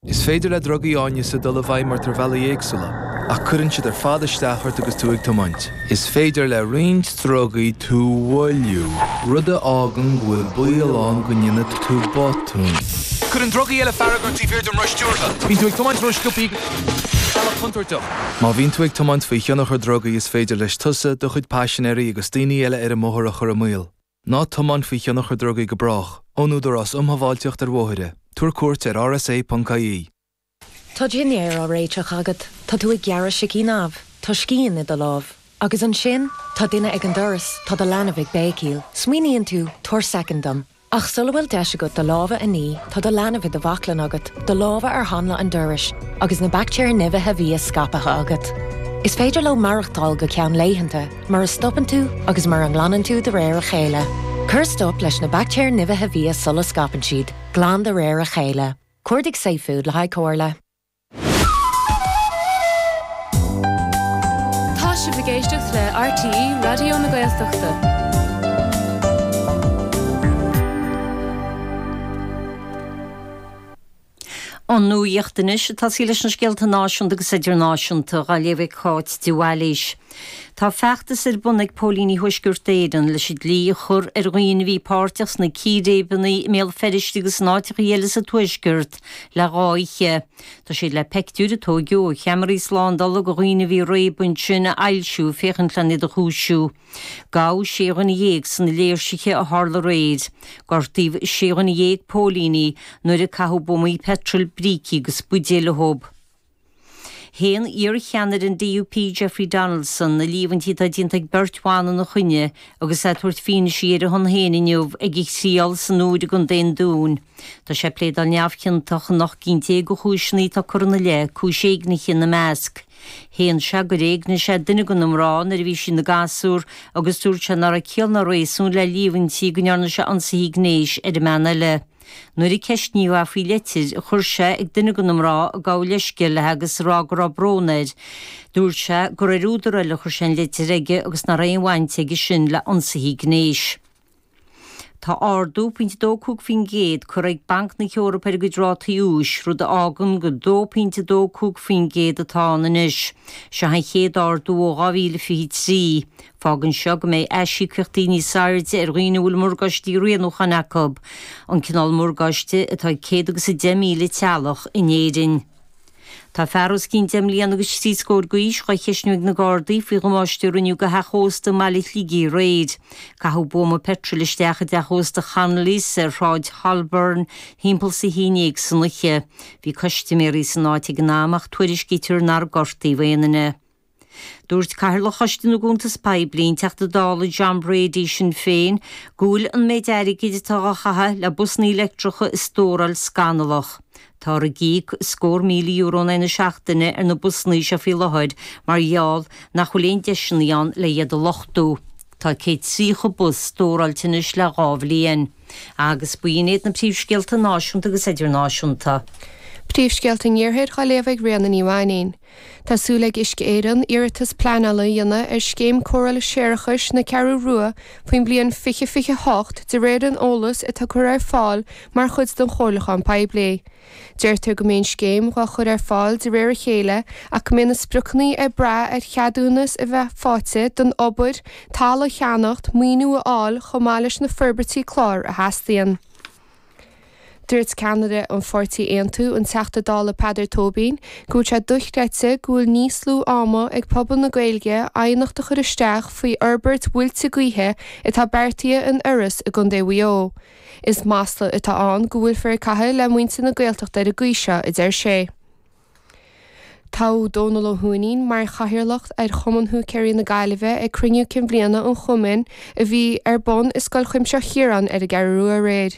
Is féidir le drugaí áineasa dul i bhfeidhm ort ar bhealaí éagsúla, ach cuireann siad ar fad isteach ort agus tú ag tiomáint. Is féidir le roinnt drugaí tú a mhoilliú, rud a fhágann go bhfuil baol ann go ndéanfaidh tú botún. Cuireann drugaí eile fearg ort taobh thiar den roth stiúrtha. Bíonn tú ag tiomáint ró-sciobtha ar bhealach contúirteach. Má bhíonn tú ag tiomáint faoi thionchar drugaí is féidir leis tusa, do chuid paisinéirí agus daoine eile ar an mbóthar a chur i mbaol. Ná tiomáin faoi thionchar drugaí go brách. Ón Údarás um Shábháilteacht ar Bhóithre. Tabhair cuairt ar rsa.ie. Tá dinnéar á réiteach agat, tá tú ag gearradh sicín amh, tá scian i do lámh. Agus ansin, tá duine ag an doras, tá do leanbh ag béicíl. Smaoiníonn tú, tabhair soicind dom. Ach sula bhfuil deis agat do lámha a ní, tá do leanbh i do bhaclainn agat, do lámha ar hanla an dorais, agus na baictéir nimhithe bhia scaipthe agat. Is féidir leo maireachtáil go ceann laethanta. Mura stopann tú agus mura nglanann tú de réir a chéile. Cuir stop leis na baictéir nimhithe bhia sula scaipeann siad. Glan de réir a chéile. Cuardaigh safefood le haghaidh comhairle. Tá sibh ag éisteacht le RTÉ Raidió na Gaeltachta. An nuacht anois ag tosaí leis na scéalta náisiúnta agus idirnáisiúnta, á léamh ag Cáit de Bhailís. Tá feachtas ar bun ag póilíní Thuaisceart Éireann leis an dlí a chur ar dhaoine a bhí páirteach sna círéibeanna i mBéal Feirste agus in áiteacha eile sa Tuaisceart le dhá oíche. Tá siad le peictiúir a tóigeadh ó cheamaraí slándála de dhaoine a bhí ag réabadh ansin a fhoilsiú féachaint len iad a chúisiú. Gabhadh sé dhuine dhéag sna léirsithe a tharla aréir. Gortaíodh sé dhuine dhéag póilíní nuair a caitheadh buamaí peitril, brící agus buidéil orthu. Shéan iar-cheannaire an DUP Jeffrey Donaldson na líomhaintí atá déanta ag beirt bhan ina choinne agus é ag tabhairt fianaise ar a shon féin inniu ag a thriail san Iúr i gContae an Dúin. Tá sé ag pléadáil neamhchiontach in 18 gcinn de chúiseanna atá curtha ina leith, cúis éignithe ina measc. Shéan sé gur éignigh sé duine de na mná nuair a bhí sí ina gasúr agus dúirt sé nach raibh ciall ná réasún le líomhaintí go ndearna sé ionsaithe gnéis ar an mbean eile. Nuair a ceistníodh é faoi leitir a chuir sé ag duine de na mná ag gabháil leithscéil léi agus ag rá go raibh brón air, dúirt sé gur ar údar eile a chuir sé an litir aige agus nach raibh aon bhaint aige sin le hionsaithe gnéis. Tá ardú pointe 2.5% curtha ag Banc na hEorpa ar a gcuid rátaí úis, rud a fhágann gur 2.25% atá ann anois. Seo an chéad ardú ó 2023. Fágann seo go mbeidh aisíocaíochtaí níos airde ar dhaoine a bhfuil morgáistí rianúcháin acu, an cineál morgáiste atá ag 100 agus 10,000 teaghlach in Éirinn. Tá fear os cionn deich mbliana agus trí scór d'aois dhá cheistniú ag na Gardaí faoi dhamáiste a rinneadh do theach ósta i mbaile Shligigh aréir. Caitheadh buama peitril isteach i dteach ósta Chonnolly's ar Shráid Holborn thimpeall is a haon dhéag san oíche. Bhí custaiméirí san áit ag an am ach tuairiscítear nár gortaíodh aon duine. Dúirt Cathaoirleach Choiste na gCuntas Poiblí, an Teachta Dála John Brady, Sinn Féin, go bhfuil an méid airgid atá á chaitheamh le busanna leictreacha a stóráil scannalach. Táthar ag íoc scór €1,000 in aghaidh na seachtaine ar na busanna seo faoi láthair mar gheall nach bhfuil aon deiseanna ann le iad a luchtú. Tá 130 bus stóráilte anois le dhá bhliain. Agus b'in iad na príomhscéalta náisiúnta agus idirnáisiúnta. Príomhscéalta an Iarthair á léamh ag Ríona Ní Mhainín. Tá súil ag Uisce Éireann iarratas pleanála a dhéanamh ar scéim cóireála séarachais na Ceathrú Rua faoin bhliain 2028 de réir an eolais atá curtha ar fáil mar chuid den chomhairliúchán poiblí. Deirtear go mbeidh an scéim dhá chur ar fáil de réir a chéile ach go mbeidh na spriocanna ag brath ar cheadúnas a bheith faighte don obair, talamh a cheannacht, maoiniú a fháil chomh maith leis na forbairtí cláir a theastaíonn. Dúirt ceannaire an pháirtí Aontú, an Teachta Dála Peadar Tóibín, go bhfuil sé dochreidte go bhfuil níos lú ama ag pobal na Gaeilge aighneacht a chur isteach faoi fhorbairt mhuilte gaoithe atá beartaithe in Iorras i gContae Mhaigh Eo. Is masla atá ann go bhfuilfear ag caitheamh le muintir na Gaeltachta ar an gcaoi seo, a deir sé. Toghadh Dónal Ó hUaithnín mar chathaoirleach ar Chumann Húicéirí na Gaillimhe ag cruinniú cinn bhliana an chumainn a bhí ar bun i Scoil Chuimsitheach Chiaráin ar an gCeathrú Rua aréir.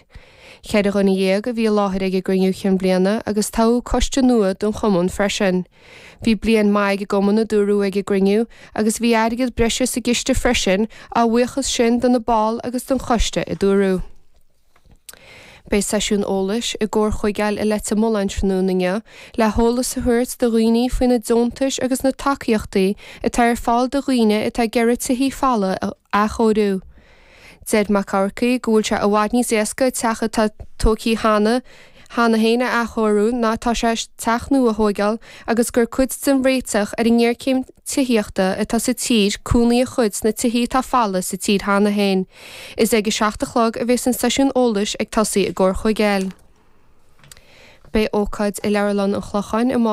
Cheithre dhuine dhéag a bhí i láthair ag an gcruinniú chinn bhliana agus toghadh coiste nua don chumann freisin. Bhí bliain mhaith ag an gcumann a dúradh ag an gcruinniú agus bhí airgead breise sa gciste freisin, á bhuíochas sin do na baill agus don choiste a dúradh. Beidh seisiún eolais i gComhar Chuigéil i Leitir Mealláin tráthnóna inniu le heolas a thabhairt do dhaoine faoi na deontais agus na tacaíochtaí atá ar fáil do dhaoine atá ag iarraidh tithí folamh a athchóiriú. Deir Mac Eachmharcaigh go bhfuil sé i bhfad níos éasca teach atá tógtha cheana. cheana féin a athchóiriú ná atá sé teach nua a thóigeáil agus gur cuid den réiteach ar an ngéarchéim tithíochta atá sa tír cónaí a chur sna tithí atá folamh sa tír cheana féin. Is ag 7 a chlog a bheas an seisiún eolais ag tosaí i gComhar Chuigéil. Beidh ócáid i Leabharlann an Chlocháin amárach.